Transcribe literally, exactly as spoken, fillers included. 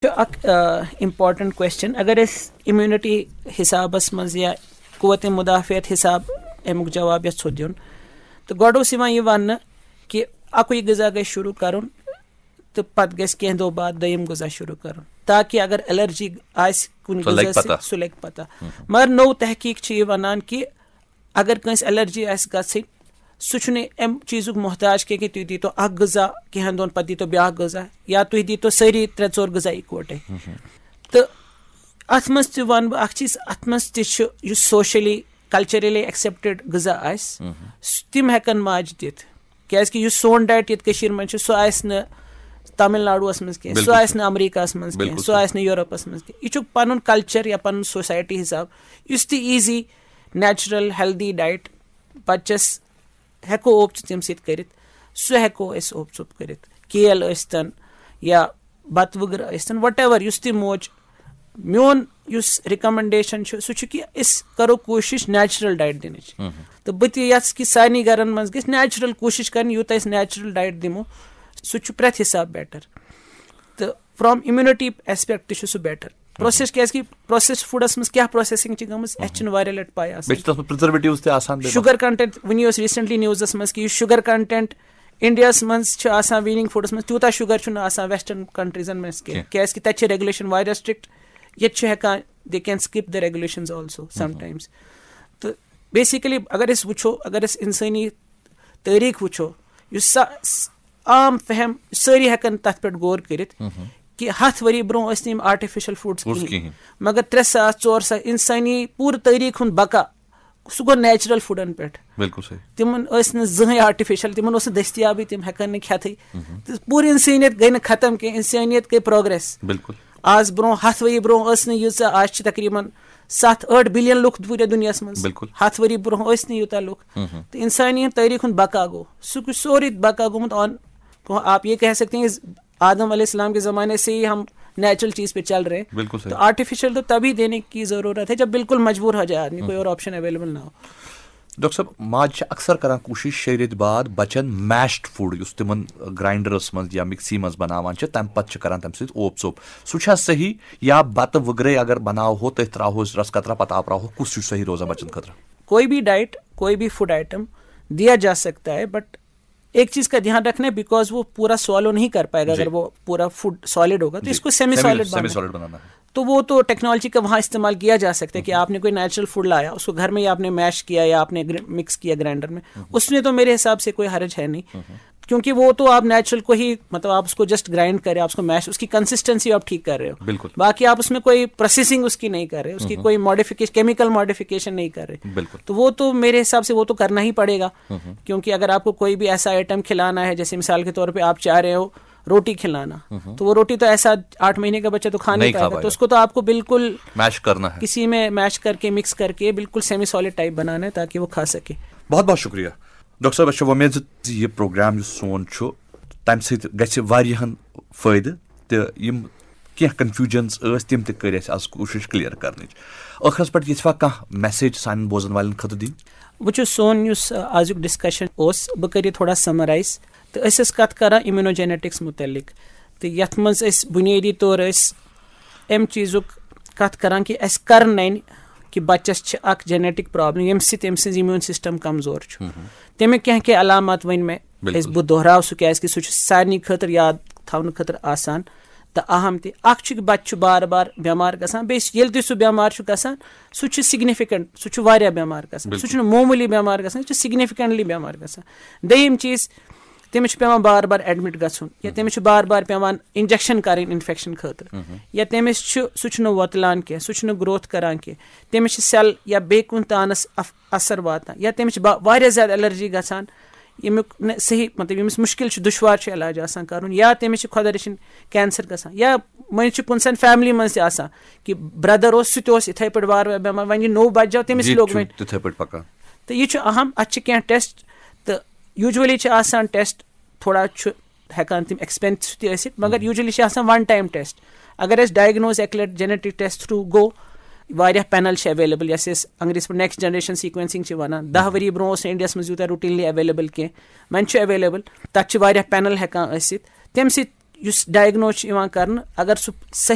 چھُ اکھ important question. اگر أسۍ امیونٹی حسابس منٛز یا قوت مدافعت حساب امیُک جواب یژھو دیُن، تہٕ گۄڈٕ اوس یِوان یہِ وننہٕ کہِ اکُے غذا گژھِ شروع کرُن تہٕ پتہٕ گژھِ کینٛہہ دۄہ بعد دوٚیِم غذا شروع کرُن، تاکہِ اگر الرجی آسہِ کُنہِ سۄ لگہِ غذا سۭتۍ، پتہ۔ سُہ لگہِ پتہ۔ مگر نوٚو تحقیق چھُ یہِ ونان کہِ اگر کٲنٛسہِ الرجی آسہِ گژھٕنۍ، سُہ چھُنہٕ امہِ چیٖزُک محتاج کینٛہہ کہِ تُہۍ دیٖتو اکھ غذا کینٛہن دۄہن، پتہٕ دیٖتو بیاکھ غذا، یا تُہۍ دیٖتو سٲری ترٛےٚ ژور غذا اِکوٹے۔ تہٕ اتھ منٛز تہِ ونہٕ بہٕ اکھ چیٖز، اتھ منٛز تہِ چھُ یُس سوشلی کلچرلی ایکسیپٹڈ غذا آسہِ، س- تِم ہیٚکن ماجہِ دِتھ۔ کیازِ کہِ یُس سون ڈایٹ ییٚتہِ کٔشیٖر منٛز چھُ، سُہ آسہِ نہٕ تامل ناڈوَس منٛز کینٛہہ، سُہ بِلکُل آسہِ صحیح۔ نہٕ امریکہس منٛز کینٛہہ، بِلکُل سُہ صحیح۔ آسہِ نہٕ یورپس منٛز کینٛہہ۔ یہِ چھُ پنُن کلچر یا پنُن سوسایٹی حساب، یُس تہِ ایٖزی، نیچرل، ہیلدی ڈایٹ بچس ہیٚکو اوپ ژٕ تَمہِ سۭتۍ کٔرِتھ، سُہ ہیٚکو أسۍ اوپ ژوٚپ کٔرِتھ۔ کیل ٲسۍتن یا بتہٕ وٕگرٕ ٲسۍتن، وٹ ایور، یُس تہِ موج، میون یُس ریکمنڈیشن چھُ، سُہ چھُ کہِ أسۍ کرو کوٗشش نیچرل ڈایٹ دِنٕچ۔ تہٕ بہٕ تہِ یژھٕ کہِ سارنٕے گرن منٛز گژھِ نیچرل کوٗشش کرٕنۍ، یوٗتاہ أسۍ نیچرل ڈایٹ دِمو، سُہ چھُ پرٛٮ۪تھ حساب بیٹر۔ تہٕ فرام امیونٹی ایسپیکٹ تہِ چھُ سُہ بیٹر۔ پروسیس، کیازِ کہِ پروسیسڈ فوڈس منٛز کیٛاہ پروسیسنگ چھِ گٔمٕژ، اَسہِ چھِنہٕ واریاہ لٹہِ پاے آسان۔ بیٚیہِ چھِ تَتھ منٛز پرزرویٹیوز تہِ آسان، بیٚیہِ شُگر کنٹینٹ، وٕنی اوس ریسنٹلی نیوزس منٛز کہِ یُس شُگر کنٹینٹ انڈیاہس منٛز چھُ آسان، ویٖننگ فوڈس منٛز تیوٗتاہ شُگر چھُنہٕ آسان ویسٹرن کنٹریزن منٛز کینٛہہ، کینٛہہ۔ کیازِ کہِ تَتہِ چھِ ریگولیشن واریاہ سٹرکٹ، ییٚتہِ چھِ ہٮ۪کان، they can skip the regulations also sometimes۔ تہٕ بیسیکلی اگر أسۍ وٕچھو، اگر أسۍ انسٲنی تٲریٖخ وٕچھو، یُس سا س- عام فہم، سٲری ہٮ۪کن تتھ پٮ۪ٹھ غور کٔرِتھ کہِ ہتھ ؤری برونٛہہ ٲسۍ نہٕ یِم آرٹیفیشل فوڈس اوس کِہیٖنۍ۔ کِہیٖنۍ۔ مگر ترٛےٚ ساس، ژور ساس، انسٲنی پوٗرٕ تٲریٖخ ہُنٛد بقا، سُہ گوٚو نیچرل فوڈن پٮ۪ٹھ۔ بِلکُل صحیح۔ تِمن ٲسۍ نہٕ زٕہٕنۍ آرٹیفیشل، تِمن اوس نہٕ دٔستیابٕے، تِم ہٮ۪کن نہٕ کھٮ۪تھٕے۔ تہٕ پوٗرٕ انسٲنیت گٔے نہٕ ختم کینٛہہ، انسٲنیت گٔے پروگریس۔ بِلکُل۔ آز برونٛہہ ہتھ ؤری برونٛہہ ٲس نہٕ ییٖژاہ، آز چھِ تقریباً ستھ ٲٹھ بلین لُکھ پوٗرٕ دُنیاہس منٛز۔ بِلکُل۔ ہتھ ؤری برونٛہہ ٲسۍ نہٕ یوٗتاہ لُکھ۔ تہٕ انسٲنی ہُنٛد تٲریٖخ ہُنٛد بقا گوٚو، سُہ گوٚو سورُے بقا گوٚمُت آن۔ آپ یہ کہہ سکتے ہیں، آدم علیہ السلام کے زمانے سے ہی ہم نیچرل چیز پہ چل رہے ہیں۔ بِلکُل صحیح۔ تو آرٹیفیشل تو تبھی دینے کی ضرورت ہے جب بالکل مجبور ہو جائے آدمی، کوئی اور آپشن اویلیبل نہ ہو۔ ڈاکٹر صٲب، ماجہِ چھِ اکثر کران کوٗشِش شیٚیہِ رٮ۪تۍ بعد بچن میشڈ فوڈ، یُس تِمن گراینڈرس منٛز یا مکسی منٛز بناوان چھِ، تمہِ پتہٕ چھِ کران تمہِ سۭتۍ اوپ ژوٚپ۔ سُہ چھا صحیح؟ یا بتہٕ وٕگرے اگر بناوہو، تٔتھۍ تراوہوس رس قطرہ، پتہٕ آپراوہو، کُس چھُ صحیح روزان بچن خٲطرٕ؟ کوئی بھی ڈائٹ، کوئی بھی فوڈ آئٹم دیا جا سکتا ہے، بٹ ایک چیز کا دھیان رکھنا ہے، بیکاز وہ پورا سوالو نہیں کر پائے گا۔ جی۔ اگر وہ پورا فوڈ سالڈ ہوگا تو جی۔ اس کو سیمی سیمی، سالڈ سیمی بنانا ہے۔ سالڈ بنانا ہے۔ تو وہ تو ٹیکنالوجی کا وہاں استعمال کیا جا سکتا ہے کہ آپ نے کوئی نیچرل فوڈ لایا، اس کو گھر میں ہی آپ نے میش کیا یا آپ نے گرا-، مکس کیا گرائنڈر میں، اس میں تو میرے حساب سے کوئی حرج ہے نہیں۔ کیونکہ وہ تو آپ نیچرل کو ہی، مطلب، آپ اس کو جسٹ گرائنڈ کریں، آپ اس کو میش، اس کی کنسسٹنسی آپ ٹھیک کر رہے ہو۔ بالکل۔ باقی آپ اس میں کوئی پروسیسنگ اس کی نہیں کر رہے، اس کی کوئی ماڈیفکیشن، کیمیکل ماڈیفکیشن نہیں کر رہے۔ بالکل۔ تو وہ تو میرے حساب سے وہ تو کرنا ہی پڑے گا، کیونکہ اگر آپ کو کوئی بھی ایسا آئٹم کھلانا ہے، جیسے مثال کے طور پہ آپ چاہ رہے ہو روٹی کھلانا، تو وہ روٹی تو ایسا آٹھ مہینے کا بچہ تو کھا نہیں نہیں کھا پائے گا، پائے تو گا۔ اس کو تو آپ کو بالکل میش کرنا ہے۔ کسی میں میش کر کے، مکس کر کے بالکل سیمی سالڈ ٹائپ بنانا ہے تاکہ وہ کھا سکے۔ بہت بہت شکریہ۔ ڈاکٹر صٲب، أسۍ چھِ وۄمید زِ یہِ پروگرام یُس سون چھُ، تَمہِ سۭتۍ گژھِ واریاہَن فٲیدٕ تہٕ یِم کینٛہہ کنفیوجنز ٲسۍ، تِم تہِ کٔرۍ اَسہِ آز کوٗشِش کلیئر کرنٕچ۔ ٲخرس پٮ۪ٹھ یژھوا کانٛہہ میسیج سانٮ۪ن بوزن والٮ۪ن خٲطرٕ دِنۍ؟ وٕچھِو، سون یُس، آ، آزُک ڈسکشن اوس، بہٕ کَرٕ یہِ تھوڑا سمرائز۔ تہٕ أسۍ ٲسۍ کَتھ کران امیونوجینیٹکس مُتعلق، تہٕ یَتھ منٛز أسۍ بُنیٲدی طور ٲسۍ اَمہِ چیٖزُک کَتھ کران کہِ اَسہِ کَر نَنہِ کہِ بَچَس چھِ اَکھ جینیٹک پرابلم، ییٚمہِ سۭتۍ أمۍ سٕنٛز امیون سسٹم کمزور چھُ۔ تَمِکۍ کینٛہہ کینٛہہ علامات ؤنۍ مےٚ۔ بِلکُل۔ أسۍ، بہٕ دۄہراو سُہ کیازِ کہِ سُہ چھُ سارنٕے خٲطرٕ یاد تھاونہٕ خٲطرٕ آسان تہٕ اہم تہِ۔ اَکھ چھُ کہِ بَچہٕ چھُ بار بار بٮ۪مار گژھان، بیٚیہِ چھُ، ییٚلہِ تہِ سُہ بٮ۪مار چھُ گژھان، سُہ چھُ سِگنِفِکَنٹ، سُہ چھُ واریاہ بٮ۪مار گژھان۔ بِلکُل۔ سُہ چھُنہٕ معموٗلی بٮ۪مار گژھان، سُہ چھُ سِگنِفِکَنٹلی بٮ۪مار گژھان۔ دوٚیِم چیٖز، تٔمِس چھُ پٮ۪وان بار بار ایڈمِٹ گژھُن، یا تٔمِس چھُ بار بار پٮ۪وان انجیکشن کرٕنۍ انفیکشن خٲطرٕ، یا تٔمِس چھُ، سُہ چھُنہٕ وۄتلان کینٛہہ، سُہ چھُنہٕ گروتھ کران کینٛہہ، تٔمِس چھِ سیل یا بیٚیہِ کُنہِ تانس اف-، اثر واتان، یا تٔمِس چھِ با-، واریاہ زیادٕ الرجی گژھان، ییٚمیُک نہٕ صحیح، مطلب، ییٚمِس مُشکِل چھُ، دُشوار چھُ علاج آسان کرُن، یا تٔمِس چھِ خۄدا رٔچھِنۍ کینسر گژھان، یا وۄنۍ چھُ کُنہِ سان فیملی منٛز تہِ آسان کہِ برٛدر اوس، سُہ تہِ اوس یِتھَے پٲٹھۍ وارٕ وارٕ بٮ۪مار، وۄنۍ یہِ نوٚو بچہٕ آو، تٔمِس یہِ لوٚگ تہِ چھُ وۄنۍ۔ تِتھَے پٲٹھۍ پکان۔ تہٕ یہِ چھُ اہم، اَتھ چھِ کینٛہہ ٹیسٹ، تہٕ یوٗجؤلی چھِ آسان ٹیسٹ تھوڑا چھُ ہٮ۪کان تِم ایکسپینسو تہِ ٲسِتھ، مگر یوٗجؤلی چھِ آسان ون ٹایم ٹیسٹ۔ اگر اَسہِ ڈائگنوز اَکہِ لَٹہِ جینیٹک ٹیسٹ تھرو گوٚو، واریاہ پینل چھِ اویلیبل، یۄس أسۍ انگریزی پٲٹھۍ نیکسٹ جنریشن سیکوینسنگ چھِ ونان۔ دَہ ؤری برونٛہہ اوس نہٕ انڈیاہس منٛز یوٗتاہ روٹینلی اویلیبل کینٛہہ، وۄنۍ چھُ اویلیبل۔ تَتھ چھِ واریاہ پینل ہٮ۪کان ٲسِتھ، تَمہِ سۭتۍ یُس ڈائگنوز چھُ یِوان کرنہٕ، اگر سُہ صحیح